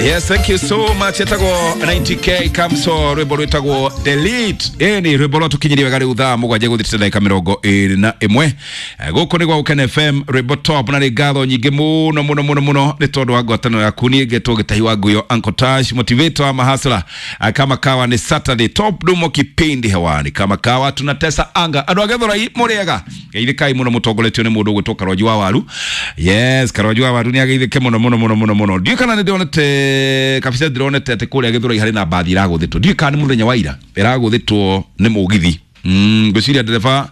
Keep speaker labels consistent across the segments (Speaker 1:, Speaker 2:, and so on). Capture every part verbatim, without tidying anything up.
Speaker 1: Yes, thank you so much. Etagwo ninety K Kamso, rwimbo rwitagwo Delete. Ĩni rwimbo rwa tukinyirie wega rĩu thaa mũgwanja gũthirĩte ndagĩka mĩrongo ĩrĩ na ĩmwe. Gũkũ nĩ gwa Gũkena F M, rwimbo top, na nĩ ngatho nyingĩ mũno mũno mũno mũno nĩ tondũ wa ngwatanĩro yaku. Niĩ ngetwo Gĩtahi wa Nguyo, Uncle Tash, motivator wa mahasla. Kama kawa ni Saturday top dumo kipindi hewani, kama kawa tunatesa anga. Andũ a Gĩthũrai mũrĩega, geithĩkai mũno mũtongoretio nĩ mũndũ ũgwĩtwo Karwanji wa Waru. Yes, Karwanji wa Waru nĩ ageithĩke mũno mũno mũno mũno mũno. Ndiũĩ kana nĩ ndĩronete kabisa, ndĩronete atĩ kũrĩa Gĩthũrai harĩ na mbathi ĩragũthĩtwo. Ndiũĩ kana nĩ mũthenya wa ira ĩragũthĩtwo nĩ mũgithi. Mm, ngwĩciria ndereba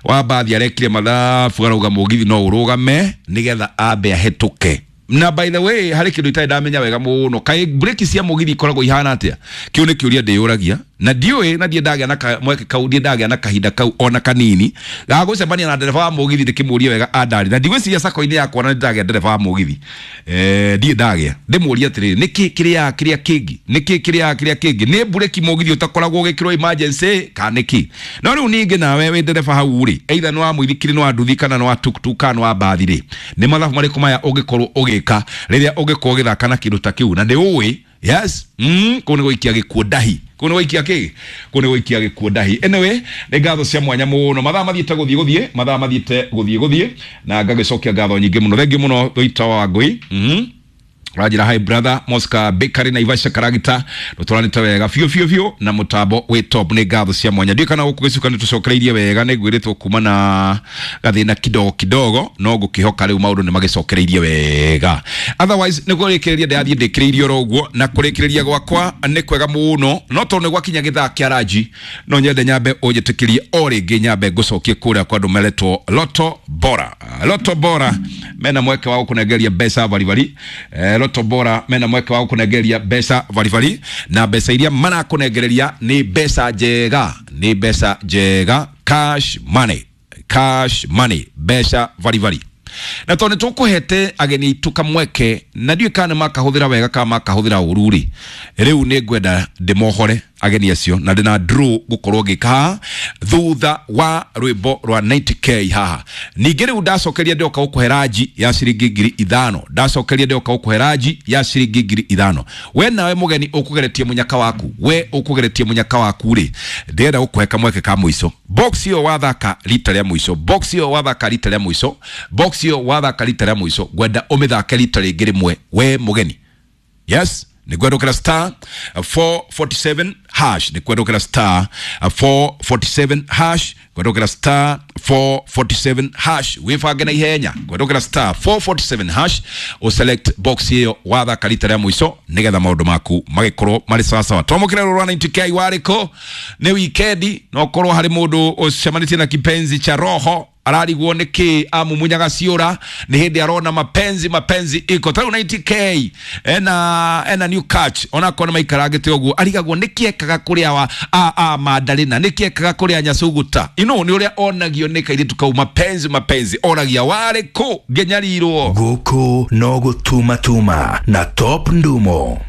Speaker 1: wa mbathi arekire mathabu arauga mũgithi no ũrũgame nĩgetha ambe ahĩtũke. Na by the way, harĩ kĩndũ itarĩ ndamenya wega mũno, kaĩ breki cia mũgithi ikoragwo ihana atĩa? Kĩu nĩ kĩũria ndĩyũragia na ndiũĩ, na ndiĩ ndagĩa na mweke kau, ndiĩ ndagĩa na kahinda kau ona kanini ga gũcemania na ndereba wa mũgithi ndĩkĩmũrie wega andari. Na ndigwĩciria sako-inĩ yakwa na ndagĩa ndereba wa mũgithi, eh, ndiĩ ndagĩa ndĩmũrie atĩrĩrĩ, nĩkĩ kĩrĩa kĩrĩa kĩngĩ, nĩkĩ kĩrĩa kĩrĩa kĩngĩ, nĩ breki mũgithi ũtakoragwo ũgĩkĩrwo emergency kana nĩkĩ? No rĩu ningĩ nawe wĩ ndereba hau rĩ, either nĩ wa mũithikiri, nĩ wa nduthi, kana nĩ wa tuktuk, kana nĩ wa mbathi rĩ, nĩ mathabu marĩkũ maya ũngĩkorwo ũgĩka rĩrĩa ũngĩkorwo ũgĩthaka na kĩndũ ta kĩu na nĩ ũĩ? Yes, mm, kũu nĩ gũikia gĩkuũ ndahi, kũu nĩ gũikia kĩ, kũu nĩ gũikia gĩkuũ ndahi. Anyway, nĩ ngatho cia mwanya mũno, mathaa mathiĩte gũthiĩ gũthiĩ, mathaa mathiĩte gũthiĩ gũthiĩ, na ngagĩcokia ngatho nyingĩ mũno. Thengiũ mũno Thũita wa Ngũi. Mm. Rajira hi brother Mosca Bakery na Ivasha Karagita, tũtwaranĩte wega biũ biũ biũ na mũtambo wĩ top. Nĩ ngatho cia mwanya. Ndiũĩ kana gũkũ gĩcuka nĩ tũcokereirie wega, nĩ ngwĩrĩtwo kuma na gathĩna kidogo kidogo, no ngũkĩhoka rĩu maũndũ nĩ magĩcokereirie wega. Otherwise nĩ kũrĩkĩrĩria ndĩrathiĩ ndĩkĩrĩirie oro ũguo, na kũrĩkĩrĩria gwakwa nĩ kwega mũno, no tondũ nĩ gwakinya gĩthaa kĩa ranji, no nyende nyambe ũnjĩtĩkĩrie o rĩngĩ nyambe ngũcokie kũrĩa kwa andũ meretwo Lotto Bora. Lotto Bora mena mweke wa gũkũnengeria mbeca baribari. Eh, Lotto Bora mena mweke wa gũkũnengeria mbeca baribari, na mbeca iria marakũnengereria nĩ mbeca njega, nĩ mbeca njega, cash money, cash money, mbeca baribari. Na tondũ nĩtũkũhete ageni aitũ kamweke, na ndiũĩ kana nĩmakahũthĩra wega kana makahũthĩra ũru rĩ, rĩu nĩ ngwenda ndĩmohore ageni acio, na ndĩna draw gũkorwo ngĩka haha thutha wa rwĩmbo rwa ninety K haha. Ningĩ rĩu ndacokeria ndĩroka gũkũhe ranji ya ciringi ngiri ithano, ndacokeria ndĩroka gũkũhe ranji ya ciringi ngiri ithano. We nawe mũgeni ũkũgeretie mũnyaka waku, we ũkũgeretie mũnyaka waku rĩ, ndĩrenda gũkũhe kamweke ka mũico. Box ĩyo wathaka rita rĩa mũico, box ĩyo wathaka rita rĩa mũico, box ĩyo wathaka rita rĩa mũico, ngwenda ũmĩthake rita rĩngĩ rĩmwe we mũgeni. Yes, ni kwendokera star four forty-seven hash, ni kwendokera star four forty-seven hash, kwendokera star four forty-seven hash, wibange na ihenya, kwendokera star four forty-seven hash, o select box iyo wathaka rita rĩa mũico nigetha maũndũ maku magĩkorwo marĩ sawa sawa. Twamũkĩre rũrũ ninety K warĩkũ nĩ wikendi, no korwo harĩ mũndũ ũcemanĩtie na kipenzi cha roho ararigwo nĩ kĩ amumunyaga ciũra, nĩ hĩndĩ arona mapenzi mapenzi iko tarĩu ninety K ena ena new catch, onakorwo nĩ maikarangĩte ũguo arigagwo nĩ kĩ ekaga kũrĩa wa a a Mandarina, nĩ kĩ ekaga kũrĩa Nyasuguta, ino nĩ ũrĩa onagio nĩ kairĩtu kau mapenzi mapenzi, oragia warĩ kũ ngĩnyarirwo.
Speaker 2: Gũkũ no gũtumatuma na Top Ndumo.